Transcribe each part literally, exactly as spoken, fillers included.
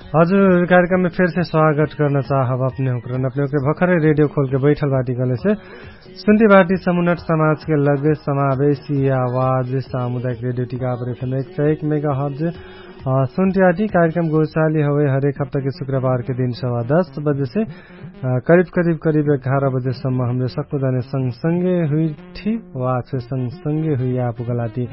हजुर, कार्यक्रममे फेरसे स्वागत कर्ना चाहब अपने हुँकरन। अपने हुँकरे भखरे रेडियो खोलके बैठल बाटी कहलेसे सुन्ती बाटी समुन्नट समाजके लगे समावेशी आवाज सामुदायिक रेडियो टिकापर एफएम एक सय एक मेगा हर्ज। सुन्ती आटी कार्यक्रम गोचाली हवे हरेक हप्ताके शुक्रबारके दिन सवा दस बजेसे करिब करिब करिब एघार बजेसम्म हमरे सक्कु जाने संगसंगे हुइठी वाक्से संगसंगे हुइया पुगलाटी।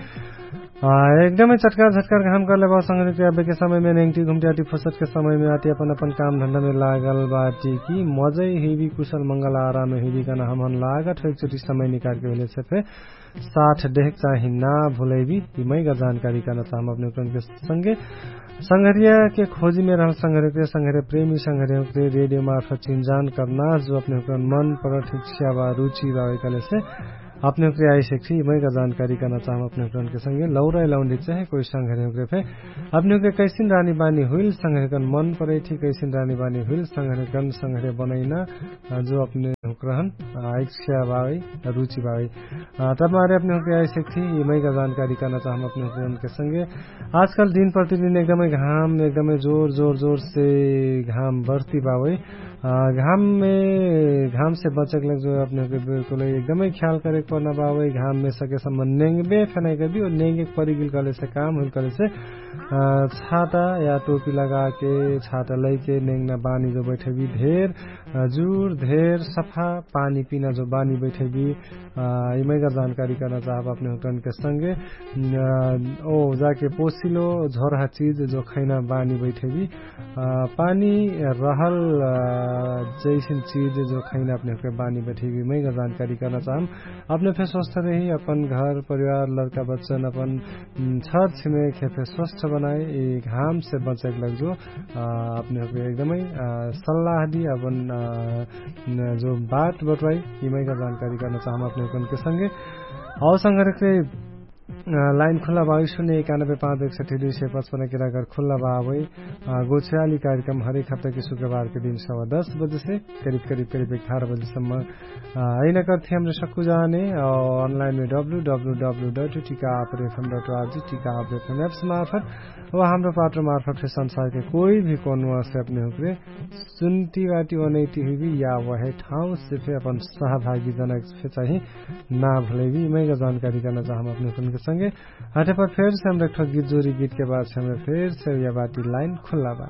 एकदमै चटकार झटकार घाम करले बा संगरिक अबेके समयमे नेङ्टी घुम्टी आटी फुर्सदके समयमे आटी अपन अपन काम धन्दामे लागल बाटी कि मजै हुइबी कुशल मंगल आरामे हुइबी कहना हमहन लागत हो एकचोटी समय निकारके होइलेसे फे साथ देहक चाही ना भुलैबी। यि मैगा जानकारी कहना चाहम अपने हुँकरनके संगे संघरियाके खोजीमे रहल संघरियाके संघरिया प्रेमी संघरियाके रेडियो मार्फत चिन्जान करना जो अपने हुँकरन मन परठ इच्छा बा रुचि बा वैकलेसे अपने हुँकरे आइसेक थी यि मैगा जानकारी कहना चाहम अपने हुँकरनके संगे लौराइ लौन्डी चाहे कोइ संघरियाके फे अपने हुँकरे कैसिन रानी बानी हुइल संघरियाकन मन परै थी कैसिन रानी बानी हुइल संघरियाकन संघरिया बनैना जो अपने हुँकरहन इच्छा बावै रुचि बावै तब मारे अपने हुँकरे आइसेक थी यि मैगा जानकारी कहना चाहम अपने हुँकरनके संगे। आजकल दिन प्रतिदिन एकदमै घाम एकदमै जोर जोर जोरसे घाम बढ्ती बावै। घाममे घामसे बचेक लग जो अपने हुँकरे बिल्कुलै एकदमै ख्याल करेक पर्ना बावै। घाममे सकेसम्म नेङ्गबे फेनाइ करबी और नेङ्गेक परिगिल कहलेसे काम हुइल कहलेसे छाता या टोपी लगाके छाता लैके नेङ्गना बानी जो बैठैबी धेर जुर धेर सफा पानी पिना जो बानी बैठैबी। यि मैगा जानकारी करना चाहब अपने हुँकरनके संगे। ओ जाके पोसिलो झोरहा चिज जो खैना बानी बैठैबी पानी रहल जैसिन चिज जो खैना अपने हुँकरे बानी बैठैबी मैगा जानकारी करना चाहम। अपने फे स्वस्थ रही अपन घर परिवार लड़का बच्चन अपन छर छिमेक हे फे स्वस्थ बनाए यि घामसे बचैक लग जो अपने हुँकरे एकदमै सल्लाह दी अपन जो बात बटवाई यि मैगा जानकारी करना चाहम अपने हुँकरनके संगे। हौ संघरियाके लाइन खुल्ला बा शून्य एकानब्बे पाँच एकसठी दुई सय पचपन्न किराकर खुल्ला बा अबै गोछ्याली कार्यक्रम हरेक हप्ताके शुक्रबारके दिन सवा दस बजेसे करिब करिब करिब एघार बजेसम्म। अइना करथी हमरे सक्कु जाने अनलाइनमे डब्लु डब्लु डब्लु डट टिका आपर एफएम डट आरजी टिका आपर एफएम एप्स मार्फत वा हाम्रो पाटो मार्फत फे संसारके कोइ भी कोनुवासे अपने हुँकरे सुन्ती बाटी ओनैटी हुइबी या वहे ठाउँसे फे अपन सहभागी जनक फे चाही ना भुलैबी। यि मैगा जानकारी करना चाहम अपने हुँकरनके संगे। हटे पर फेरसे हमरा एक ठो गीत जोरी गीतके बादसे हमरा फेरसे या बाटी लाइन खुल्ला बा।